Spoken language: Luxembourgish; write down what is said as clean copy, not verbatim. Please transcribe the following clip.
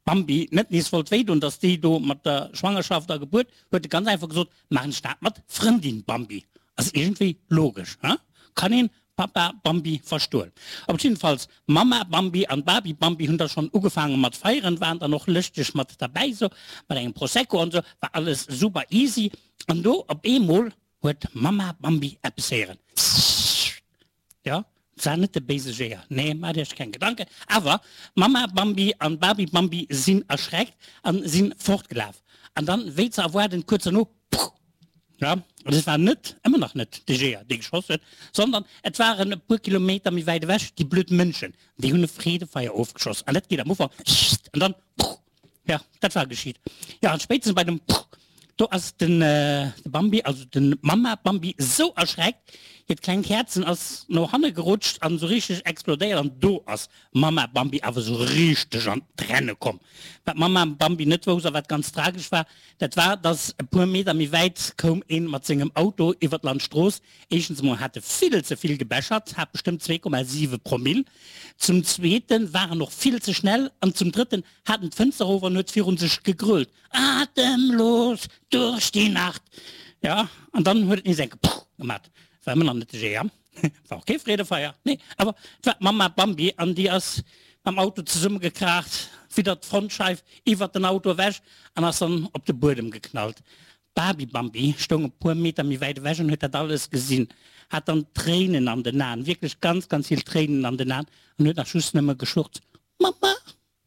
Bambi net nees wollt wéi doen, dass déi do mat der Schwangerschaft a Gebuert, huet e ganz einfach gesot, Maachen ech dat mat Frëndin Bambi. Ass iergendwéi logesch, he? Kann een Papa Bambi verstoen. Op jiddefalls Mamma Bambi an Baby Bambi hunn da schonn ugefaange mat feieren, waren dann och lëschteg mat derbäi, sou mat engem Prosecco an sou, war alles super easy. An do op eemol huet Mamma Bambi eppes héieren. Sssst! Jo, et war net de béise Jeeër, nee, maacht iech keng Gedanken. Awer Mamma Bambi an Baby Bambi sinn erschreckt an sinn fortgelaf. An dann, wéi ze erwaarden, kuerz derno, Puh! Jo, an et war net, ëmmer nach net, de Jeeër, dee geschoss huet, sondern et waren e puer Kilometer méi wäit ewech déi blöd Mënschen, déi hunn e Freedefeier ofgeschoss. An dat geet am Ufank Scht an dann Puh! Jo, dat war geschitt. Jo, an spéitstens bei dem Puh, do ass den Bambi, also den Mamma Bambi, esou erschreckt, hiert klengt Häerzen ass no hanne gerutscht an esou richteg explodéiert an do ass Mamma Bambi awer esou richteg an d'Renne komm. Wat d'Mamma Bambi net wousst a wat ganz tragesch war, dat war, dass e puer Meter méi wäit koum een mat sengem Auto iwwer d'Landstrooss. Éischtens emol hat e vill ze vill gebechert, hat bestëmmt 2,7 Promill. Zum zweeten war en och vill ze schnell an zum drëtten hat en d'Fënster erof an huet virun sech gegrölt, Atemlos durch die Nacht! Jo, an dann huet et nees eng Puh gemat. War ëmmer nach net de Jeeër. War och kee Freedefeier, nee, awer et war d'Mamma Bambi an déi ass mam Auto zesummegekraacht, widder d'Frontscheif, iwwert den Auto ewech an ass dann op de Buedem geknallt. D'Baby Bambi stoung e puer Meter méi wäit ewech an huet dat alles gesinn, hat dann Tréinen an den Aen, wierklech ganz, ganz vill Tréinen an den Aen an huet nach just nëmme geschluchzt, Mamma!